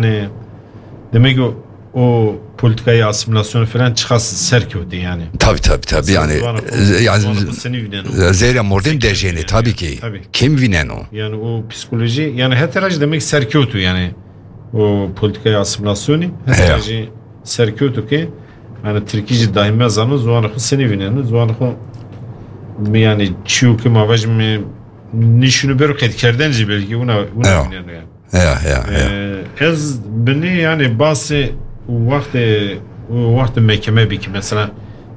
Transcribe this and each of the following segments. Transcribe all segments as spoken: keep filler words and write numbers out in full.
Yani, demek ki o, o politikayê asimilasyonu falan çiqas ser kewtê yani. Tabii, tabii, tabii. Yani, yani, zêrê mordem dejêne tabii ki. Tabii. Kim vîneno? Yani o psikoloji, yani heta rajî demek ser kewtû yani. O politikayê asimilasyonî, heta rajî ser kewtû ki, yani Tirkî jî dahî me zanin, ziwanê xwe senî vîneno, ziwanê xwe yani çiyo ki ma vajî me nîşûnû ber qeydkerden jî belkî wina, wina vîneno yani. Ya, ya, ya. Ee, ez binê yani basê wextê, wextê mekeme bî ki mesela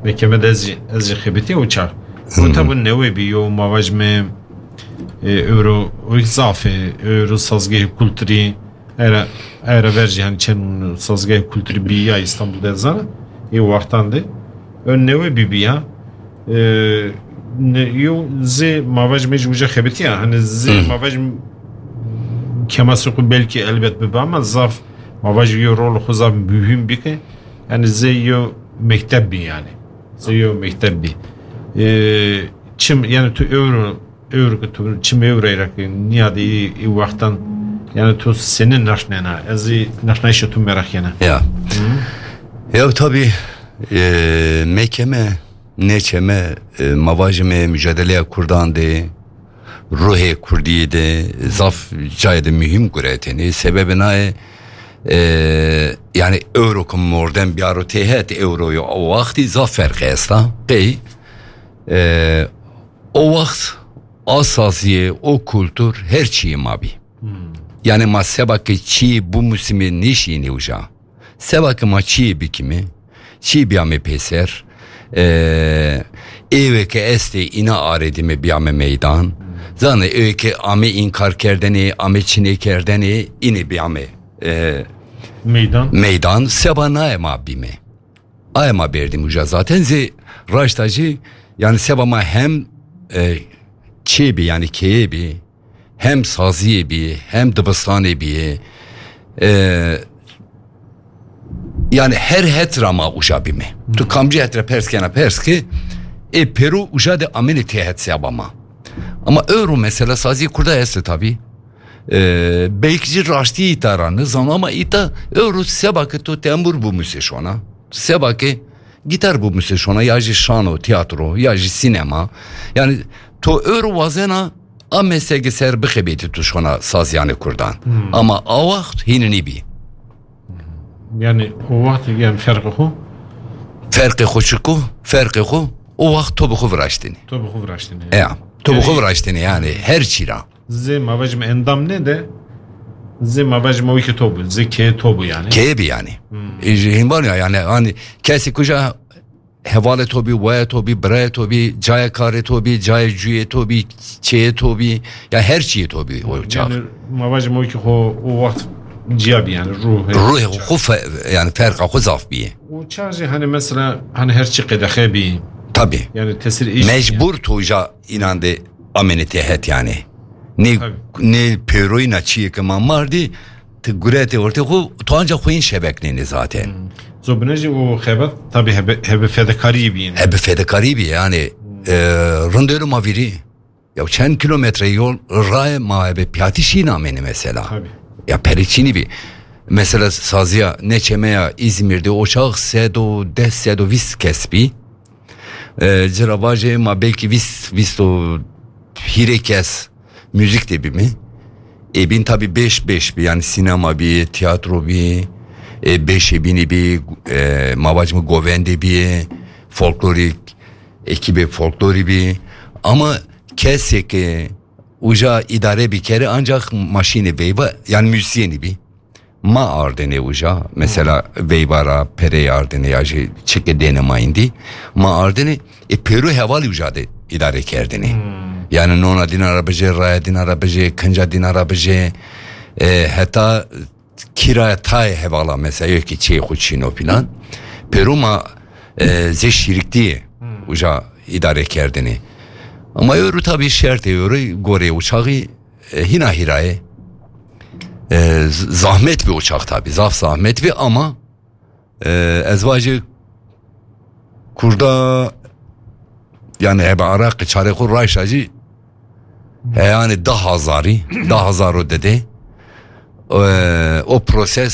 mekeme de ez jî, ez jî xebitî o çax. O tabi newe bî yo ma vajî me, e, ewro o zafê, ewro sazgehê kulturî, era, era ver jî hani çend sazgehê kulturî bî ya İstanbul de zana, e, wextan de. Ön newe bî bî ya. Ee, ne, yo zê ma vajî me jî uca xebitî ya. Hani zê ma vajî me kemasê xwe belkî elbet bibe ama zaf ma vajî yo rol xwe zaf mühim bike. Yani zê yo mekteb bî yani. Zê yo mekteb bî. Ee, çim yani tu ewro, ewro ki tu çim ewro ra ki niyade î, î wextan yani tu seni naşnena. Ez î naşnayışa tu meraq yena. Ya. Ya tabii, e, mekeme, neçeme, e, ma vajî me mücadeleya Kurdan de, ruhê Kurdî de, zaf cayê de mühim guretêne. Sebebê nayê, e, yani ewro ku mordem biyaro têhet ewro yo o wextî zaf ferqê esta. Qey, e, o wext a saziyê, o kultur her çiyê ma bî. Yani ma seba ke çiyê bimûsimê nêşînê uca. Seba ke ma çiyê bikimê, çiyê biyamê pêser, e, êwê ke estê îna arêdîme biyame meydan. Zane êwê ke ame înkar kerdenê, ame çinê kerdenê, înê biyame, e, meydan. Meydan, seba naye ma bîme. Aye ma berdîm uca zaten zê raşta jî, yani seba ma hem, e, çiyê bî, yani keyê bî, hem saziyê bî, hem dibistanê bî, e, yani her het ra ma uca bîme. Tu kamcî het ra pers kena pers ki, ê pêro uca de amêne têhet seba ma. Ama ewro mesela saziyê Kurda este tabi. E, belkî jî raştî îta ra nizan ama îta ewro seba ke to tembur bimûsê şona. Seba ke gitar bimûsê şona ya jî şano, tiyatro, ya jî sînema. Yani to ewro wazena a meslekê ser bixebitî tu şona saziyanê Kurdan. Ama a wext hînî nîbî. Yani o wext yani ferqê xwe? Ferqê xwe çi ku? Ferqê xwe o wext to bi xwe viraştînî. To bi xwe viraştînî. Ya, to bi xwe viraştînî yani her çî ra. Zê ma vajîme endam ne de, zê ma vajîme wekî to bû, zê keyê to bû yani. Keyê bî yani. E, ji hînvan ya yani, hani kesî kuja hevalê to bî, waya to bî, birayê to bî, cayê karê to bî, cayê cuyê to bî, çeyê to bî, ya her çiyê to bî o çax. Yani ma vajîme wekî xwe o wext ciya bî yani, ruhê. Ruhê xwe fe-, yani ferqa xwe zaf bîye. O çax jî hani mesela hani her çi qedexe bî. Tabii. Yani tesir îş. Mecbur to ja înan de amêne têhet yani. Ne, ne pêroyîna çiyê ke ma mardî, ti guretê ortê xwe, tu ancak xwe yên şebeknêne zaten. Zobine jî o xebet tabi hebe, hebe fedekarî bî. Hebe fedekarî bî yani, e, rindêro ma vîrî. Ya çend kilometre yol raye ma hebe piyatî şîn amêne mesela. Tabi. Ya perê çînî bî. Mesela saziya neçemeya İzmir'de o çax sed û deh, sed û vîst kes bî. E, cira vajê ma belkî vîst, vîst û hîrê kes müzik de bî mi. E, bin tabi beş beş bî, yani sinema bî, tiyatro bî, e, beşê bînî bî, e, ma vacime govendê bî, folklorik, ekîbê folklorî bî. Ama kesê ke uca îdare bî kere ancak maşînê veyva, yani müzisyenî bî. Ma ardinê uca, mesela veyva ra perê ardinê ya jî çike dêne ma îndî. Ma ardinê, e, pêro hevalî uca de îdare kerdinê. Yani nona dîna ra bijê, raya dîna ra bijê, kinca dîna ra bijê, e, heta kiraya tayê hevala mesela, yok ki çê xwe çîno filan. Pêro ma, e, zê şîriktiyê uca îdare kerdinê. Ama ewro tabi şertê ewro gorê uçaxî e, hîna hîra ye. E, z-, zahmet bî o çax tabi. Zaf zahmet bî ama, e, ez vajê Kurda, yani hebe Iraqê çarê xwe rayşa jî heyanê da hazarî, da hazar û didê. e, o proses